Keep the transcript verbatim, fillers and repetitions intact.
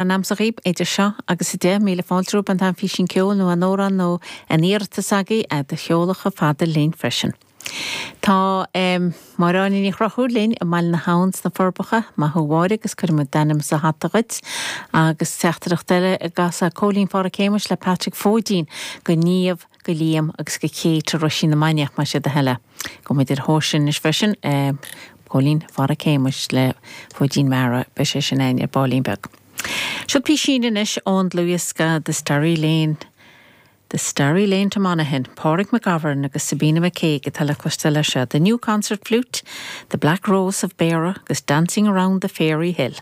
An am sa ghaoib idir seo agus a deich míle fáilte romhaibh an t-am físín ceoil nó an amhrán nó an iarratas agaibh a do sheoladh chomh fada linn freisin. Tá um, Máire Áine Ní Chonchúir linn i mBaile na hAbhann sna Forbacha maith thú Mháire agus cuirfimid d'ainm sa hata dhuit agus teachtaireacht eile i gcás Cóilín Phádraic Shéamuis le Patrick Fóidín go Niamh go Liam agus go Kate Ruisín na Mainiach mar sé do heile. Go muid ar thóir is freisin um, Cóilín Phádraic Shéamuis le Fóidín Mara be sé sin ein ar báilín beag. Seo písín anois ón dlúthdhiosca The Starry Lane. The Starry Lane to Monaghan, Pádraig McGovern agus Sabina McCaig atá le cloisteáil leis seo, The New Concert Flute, The Black Rose of Beara agus Dancing Around the Fairy Hill.